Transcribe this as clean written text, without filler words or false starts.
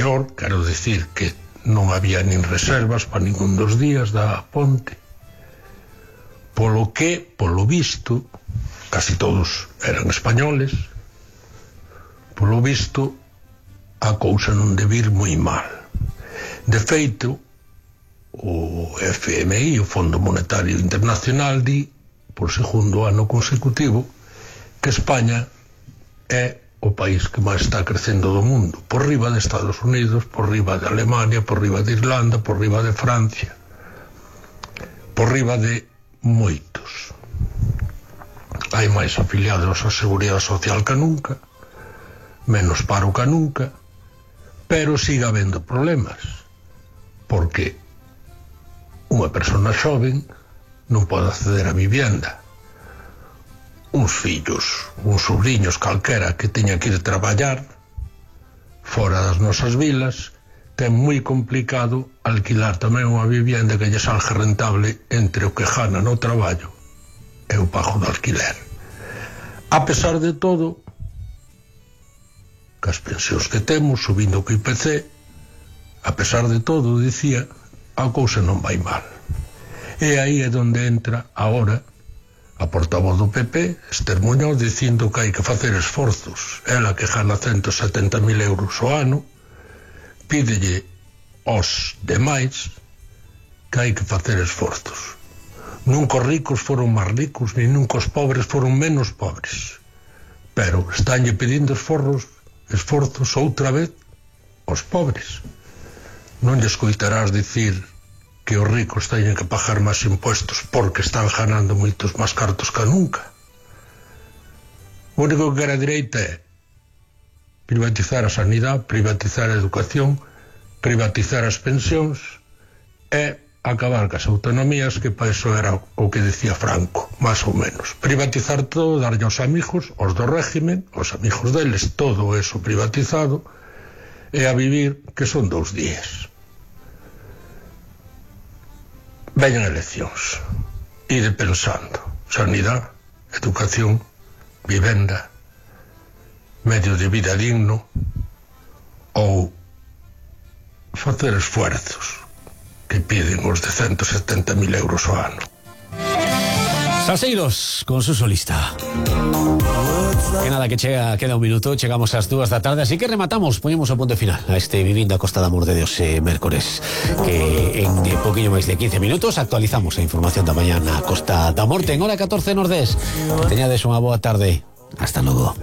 peor, quero dicir que non había nin reservas para ningún dos días da ponte, polo que, polo visto, casi todos eran españoles, polo visto a cousa non debe ir moi mal. De feito, o FMI, o Fondo Monetario Internacional, di, por segundo ano consecutivo, que España é o país que máis está crecendo do mundo, por riba de Estados Unidos, por riba de Alemania, por riba de Irlanda, por riba de Francia, por riba de moitos. Hai máis afiliados á Seguridade Social que nunca, menos paro que nunca, pero siga habendo problemas, porque unha persona xoven non pode acceder a vivienda. Uns fillos, uns sobrinhos calquera que teña que ir traballar fora das nosas vilas, ten moi complicado alquilar tamén unha vivienda que lle salga rentable entre o que gana no traballo e o pago do alquiler. A pesar de todo, que as pensións que temos subindo co IPC, a pesar de todo, dicía, a cousa non vai mal. E aí é onde entra agora a portavoz do PP, Esther Muñoz, dicindo que hai que facer esforzos. Ela que gana 170.000 euros ao ano, pídelle aos demais que hai que facer esforzos. Nunca os ricos foron máis ricos, ni nunca os pobres foron menos pobres. Pero estánlle pedindo esforzos outra vez aos pobres. Non lle escoitarás dicir que os ricos teñen que pagar máis impuestos porque están ganando moitos máis cartos que nunca. O único que quere a dereita é privatizar a sanidade, privatizar a educación, privatizar as pensións e acabar cas autonomías, que para iso era o que decía Franco, máis ou menos. Privatizar todo, darlle aos amigos, aos do régimen, aos amigos deles, todo eso privatizado, e a vivir, que son 2 días. Veñan eleccións, ide pensando, sanidade, educación, vivenda, medio de vida digno, ou facer esfuerzos que piden os de 170.000 euros ao ano. Salseiros con su solista. Que nada, que queda un minuto, chegamos ás 2 da tarde, así que rematamos, poñemos o punto final a este Vivindo a Costa da Amor de Deus mércores, que en poquinho máis de 15 minutos actualizamos a información da mañá na Costa da Morte en hora 14 Nordés. Teñades unha boa tarde, hasta logo.